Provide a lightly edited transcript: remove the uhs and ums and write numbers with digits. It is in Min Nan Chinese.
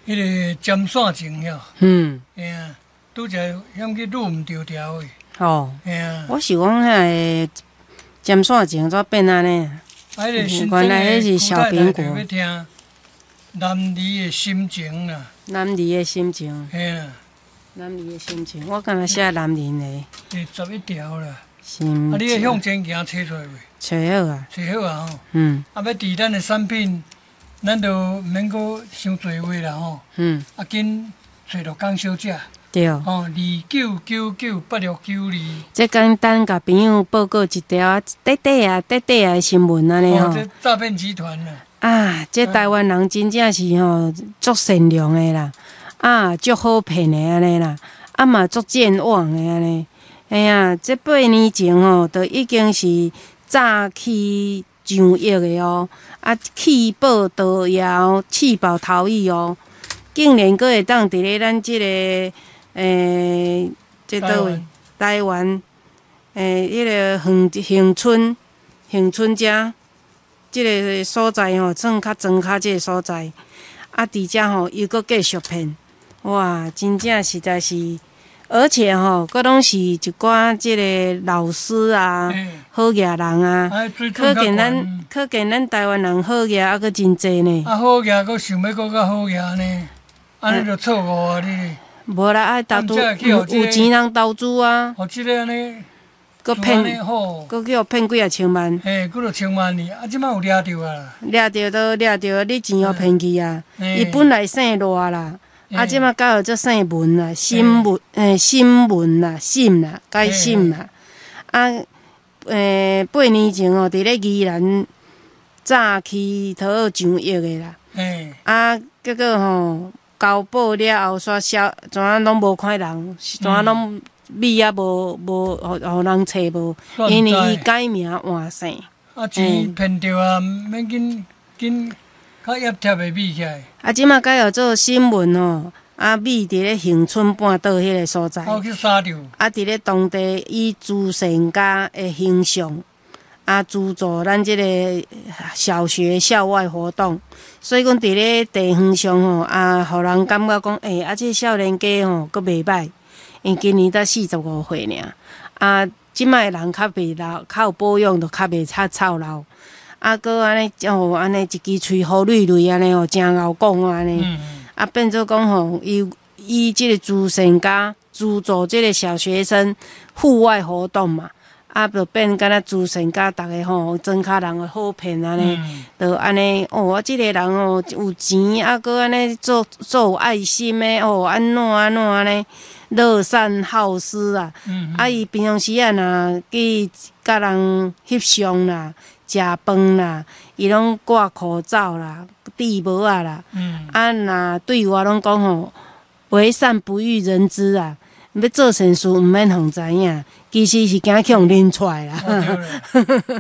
彼个針線情了。嘿啊，拄才嫌去擼毋著條的。嘿啊。我想講遐個針線情怎變按呢？啊，彼個新原來彼是小蘋果。欲聽男兒的心情啦。男兒的心情。嘿啦。男兒的心情，我敢若寫男人的。第11條啦。心。啊，你的向前行揣出來未？揣好啊。揣好啊吼。啊，欲佇咱的產品，咱就毋免閣傷濟話啦吼。啊，緊揣陸江小姐。吼，29998692。這簡單共朋友報告一條短短啊、短短啊的新聞按呢吼。這詐騙集團啊。啊，這台灣人真正是吼足善良的啦，啊，足好騙的按呢啦，啊嘛足健忘的按呢。嘿啊，這8年前吼，就已經是詐欺上億的哦，啊，棄保逃逸、棄保逃逸哦，竟然閣會當佇咧咱這个這佗位？台灣，彼个恆恆春恆春遮，這个所在吼，算較莊跤這个所在，啊，佇遮吼又閣繼續騙，哇，真正實在是，而且吼，閣攏是一寡這个老師啊，好額人啊，可見咱台灣人好額猶閣真濟呢。啊，好額閣想欲閣較好額呢，按呢就錯誤啊！你。無啦，愛投資有錢人投資啊。予這个按呢，閣騙，閣去予騙幾仔千萬。嘿，幾若千萬呢？啊，這擺有掠著啊。掠著都掠著，你錢予騙去啊！伊本來姓賴啦，啊，這擺改號做姓文啦，沈文，沈文啦，沈啦，改沈啦。啊，8年前哦，佇咧宜蘭詐欺討上億的啦。啊，結果吼，交保了後，煞消，怎啊攏無看人，怎啊攏米也無無，予予人揣無，因為伊改名換姓。啊，錢騙著啊，免緊緊較挹貼的米起來。啊，這馬改號做新聞吼，啊，米佇咧恆春半島彼個所在。哦，去殺著。啊，佇咧當地以慈善家的形象，啊，資助咱這個小學校外活動。所以講，佇咧地方上吼，啊，予人感覺講，欸，啊，這少年家吼，閣袂䆀，因今年才45歲爾，啊，這擺的人較袂老，較有保養，就較袂較臭老，啊，閣按呢，哦，按呢一支喙好蕊蕊按呢吼，誠𠢕講按呢，啊，變做講吼，伊以這個慈善家資助這個小學生戶外活動嘛。啊，就變敢若慈善家，逐个吼，莊跤人會好騙按呢，就按呢哦，啊，這个人哦有錢，啊，閣按呢做做有愛心的哦，按怎按怎按呢，樂善好施啊，啊，伊平常時啊，若去佮人翕相啦、食飯啦，伊攏掛口罩啦、戴帽仔啦，啊，若對外攏講吼，為善不欲人知啊。欲做善事，毋免予人知影，其實是驚去予認出來啦。